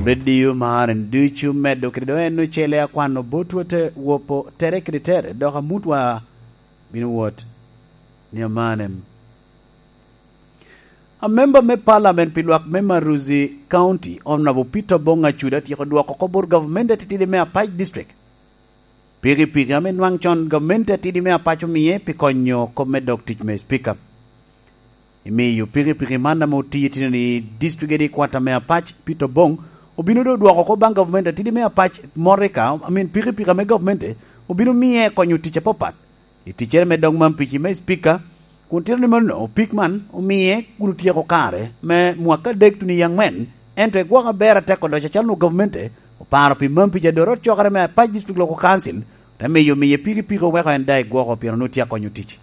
Radio maren ducu medo kede do en ocele akwano botwa te wopo tere kede tere dok amutwa bino wot ni amanem. A member me parliament pi lwak me Maruzi County, Honourable Peter Obong Acuda tyeko dwoko ko bot gavmente atitidi me Apac District. Pikipiki ame nwang con gavmente atidi me Apac omiye pi konyo kop me dog tic me Speaker. Imiyo pikipiki man ame otiyo itino i district headquarter me Apac, Peter Obong obino dong odwoko ko bang gavmente atidi me Apac motika, I mean pikipiki ame gavmente obino miye konyo tic apapat. I ticcere me dog mampici me Spika, kun tito ni meno opik man omiye kun otyeko kare me mwaka adek tuni i angwen, ento egwoko aber atek odoco calo nongo gavmente oparo pi mampici adot ot cokere me Apac District Local Council te miyo miye pikipiki oweko en da egwoko pien onongo tye akonyo tic.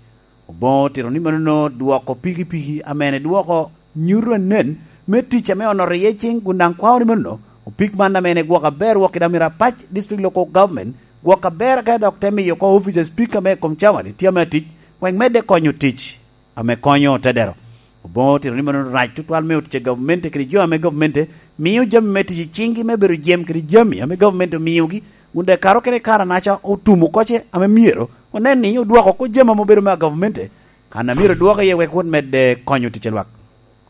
Obongo otito ni meno nongo dwoko pikipiki amene dwoko nyuto anen me tic ame onoto iye cing kun dang kwao ni meno opik man amene egwoko aber wok kida myero Apac District Local Government Gwok aber ka dok te miyo ko opica spika me kom cawa ni tye me atic wek medde konyo tic ame konyo tedero. Obongo otito ni meno rac tutwal me otic a gavmente kede jo ame gavmente miyo jami me tic i cingi me bedo jem kede jami ame gavmente omiyogi kun dek kare okene kare anaca otumo koce ame myero onen ni odwoko ko jami ame obedo me a gavmente kana myero odwok iye wek wot medde konyo tic a lwak.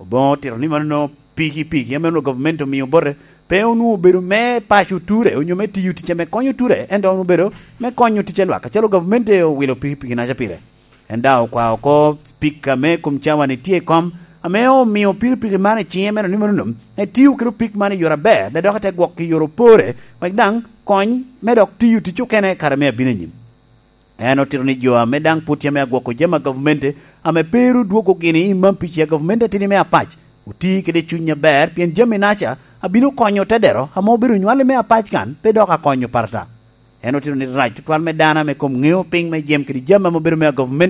Obongo otito ni meno nongo pikipiki ma meno gavment omiyo bote pe onongo obedo me paco ture onyo me tiyo ticce me konyo ture ento onongo obedo me konyo ticce lwak kacalo gavmente owilo pikipiki naca pire. En dok okwao ko cipika me kom cawa ni tye i kom ame omiyo pikipiki man i cinge meno ni meno nongo etiyo kede opik man i yore aber de dok ete gwoko i yore opore wek dang kony me dok tiyo tic okene kare me abino anyim. En otito ni jo ame dang pud tye me agwoko jami a gavmente ame pe ru dwogo gini i mampici a gavmente atidi me apac oti kede cuny aber pien jami naca abino konyo tedero ame obedo nywale me apac kan pe dok akonyo parata. En otito ni rac tutwal me dano ame kom ngeo piny me jem kede jami ame obedo me a gavmente.